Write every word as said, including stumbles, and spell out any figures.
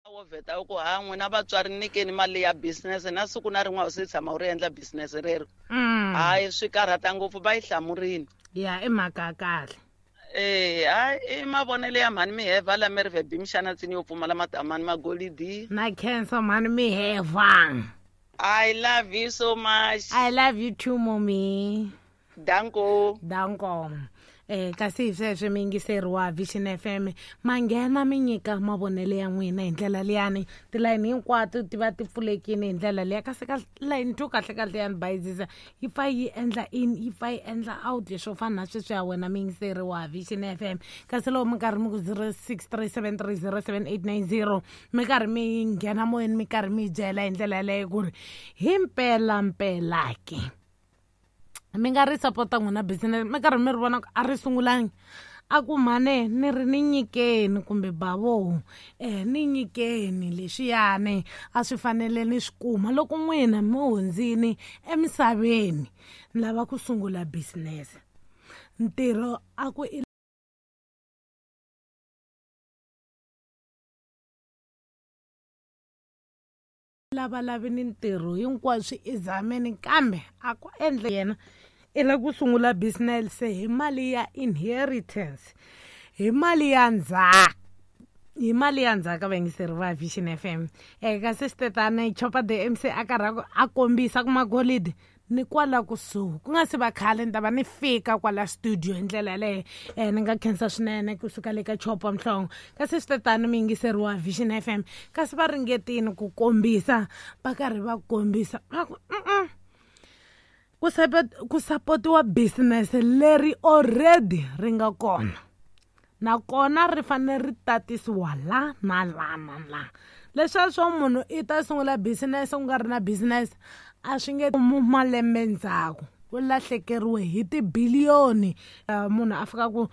Wo vheta u ku ha n'wina vatswari nyikeni mali ya business na siku na rin'we a wu se tshama u ri endla business rero. Mm. Hayi, swi karhata ngopfu, va yi hlamurini. Ya, i mhaka ya kahle. Eh, hayi, i mavonelo ya mhani Miheva la Merve Bimshana tsini yo pfumala matamani magolidi. Na khensa mhani Miheva. I love you so much. I love you too, mommy. Danko. Danko. Eh, kasi hi sweswo mi yingiseri wa Vision F M, ma nghena mi nyika mavonelo ya n'wina hi ndlela liyani, tilayini hinkwato ti va ti pfulekile hi ndlela liya, kasi ka layini two kahle kahle ya ni bayizisa yi pfa yi endla in, yi pfa yi endla out, swo fana na sweswi ya wena mi yingiseri wa Vision F M. Kasi loko mi karhi mi ku zero six three seven three zero seven eight nine zero, mi karhi mi nghena moyeni, mi karhi mi byela hi ndlela yaleyo ku ri hi mpela mpela ke mi nga ri sapota n'wina business, mi karhi mi ri vona ku a ri sungulangi, a ku mhane ni ri ni nyikeni kumbe bavo, eh, ni nyikeni leswiyani a swi fanele ni swi kuma loko n'wina mi hundzini emisaveni, ni lava ku sungula business. Ntirho a ku i lava lavi ni ntirho hinkwaswo i zameni, kambe a ku endle yena i lava ku sungula business hi mali ya inheritance, hi mali ya ndzhaka, hi mali ya ndzhaka vayingiseri va Vision F M. Eh, kasi switetani Chopa the M C a karhi a kombisa ku magolidi ni kwala kusuhi, ku nga se va khale ni ta va ni fika kwala studio hi ndlela yaleyo. Eh, ni nga khensa swinene kusuka le ka Chopa Mhlongo. Kasi switetani mi yingiseri wa Vision F M, kasi va ringetile ku kombisa, va karhi va kombisa va ku, mm-mm, ku support, ku sapotiwa business leri already ri nga kona, nakona ri fanele ri tatisiwa la na la na la. Leswiya swo munhu i ta sungula business ku nga ri na business a swi nge mu malembe ndzhaku, u lahlekeriwe hi tibiliyoni. Eh, munhu a fika ku